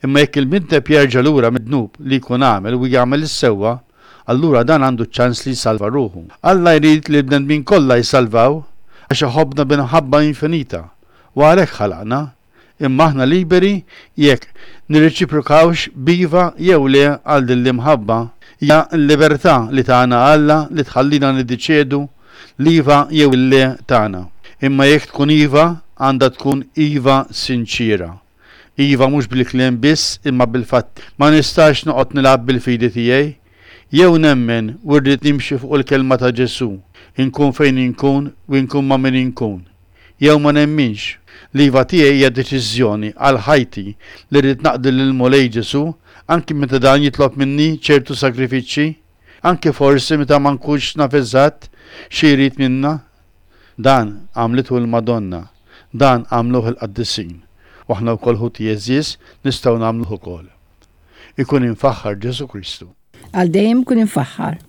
Imma jekk il-midneb jerġa' lura mid-dnub li jkun għamel u jagħmel is-sewwa, allura dan għandu ċ-ċans li jsalva ruħu. Alla jrid li l-bnedmin kollha jsalvaw għax iħobbna bi mħabba infinita u għalhekk ħalaqna. Imma aħna liberi jekk nirreċiprokawx b'iva jew le għal din l-imħabba. Hija l-libertà li tana Alla li tħallina niddeċiedu l-iva jew il-le tagħna. Imma jekk tkun iva, għandha tkun iva sinċiera. Iva mhux bil-kliem biss imma bil-fatti. Ma nistax noqgħod nilgħab bil-fidi tiegħi. Jew nemmen u rrid nimxi fuq il-kelma ta' Ġesù, inkun fejn inkun u inkun ma' min inkun. Jew ma nemminx. L-iva tiegħi hija deċiżjoni għal ħajti li rrid naqdi lill-Mulej Ġesù anki meta dan jitlob minni ċertu sagrifiċċji, anki forsi meta ma nkunx naf eżatt xi jrid minna. Dan għamlitu l-Madonna, dan għamluh il-qaddisin, u aħna wkoll ħuti għeżież nistgħu nagħmluh ukoll. Ikun imfaħħar Ġesù Kristu. Għal dejjem ikun imfaħħar.